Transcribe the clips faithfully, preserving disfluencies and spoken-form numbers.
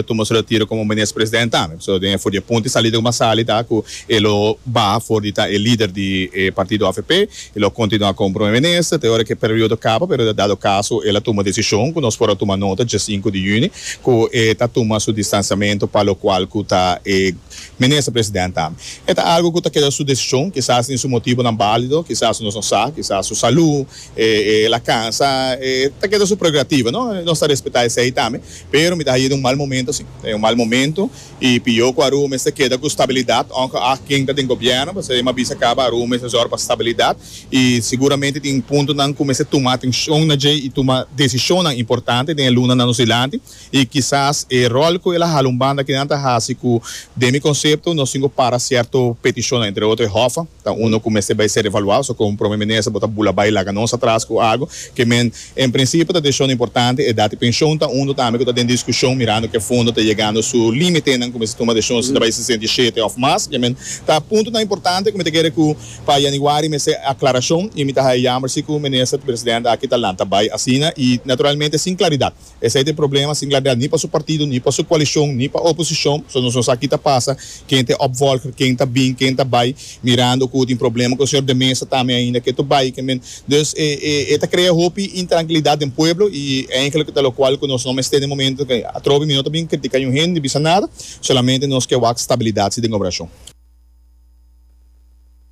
Tuma su retiro como minister president tambe. So den for di punto di salida cu sali ta cu e lo baha for di ta e lider di eh, partido A V P, e lo continua como prome minister te ora cu e periodo caba, pero dado caso el a tuma decision cu nos por a tuma nota dia cinco di juni cu e ta tuma su distanciamento pa locual cu ta e minister president tambe. E ta algo cu ta keda su decision, kisas tin su motibonan valido, kisas nos no sa, kisas su salud, eh, eh, el a cansa, eh, ta keda su prerogativa, no? Nos ta respeta esey tambe, pero mi ta hay'e un mal momento, si, e un mal momento y pio cu Aruba mester keda cu stabilidad, aunke a ken ta den gobierno, pasobra mi a bisa caba, Aruba mester zorg pa stabilidad y seguramente tin puntonan cu mester tuma atencion na dje y tuma decision importante den lunanan nos dilanti y kisas e rol cu el a hala un banda cu nan ta hasi cu den mi concepto nos tin para cierto peticion, entre otro H O F A, ta uno cu mester bay ser evalua, so como prome minister bo ta bula bay laga nos atras cu algo kiermen en principio ta decision importante. Edad di pensioen ta uno tambe cu ta den discusion, mirando cu e fondo ta yegando su limite, nan cuminsa tuma decision si ta bay sesenta y siete of mas. Kiermen ta puntonan importante cu mi ta kere cu pa januari mester aclaracion y mi ta jammer si cu minister president aki ta lanta bay asina y naturalmente sin claridad. Esey ta e problema, sin claridad ni pa su partido, ni pa su coalicion, ni pa oposicion. So nos no sa kico ta pasa, ken ta opvolger, ken ta bin, ken ta bay, mirando cu tin problema cu señor De Meza tambe ainda cu ta bay, kiermen dus eh, eh, e ta crea hopi intrankilidad den pueblo y eigenlijk ta locual cu nos no mester den momento cu atrobe mi no ta bin critica un hende, bisa nada, solamente nos kier wak stabilidad den operacion.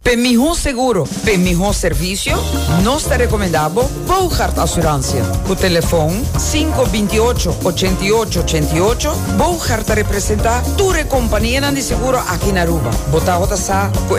Pa miho seguro, pa miho servicio, nos ta recomenda Bogart Assurantie. Cu telefon cinco dos ocho, ocho ocho ocho ocho, Bogart ta representa tur compania di seguro aki na Aruba. Bo ta sa.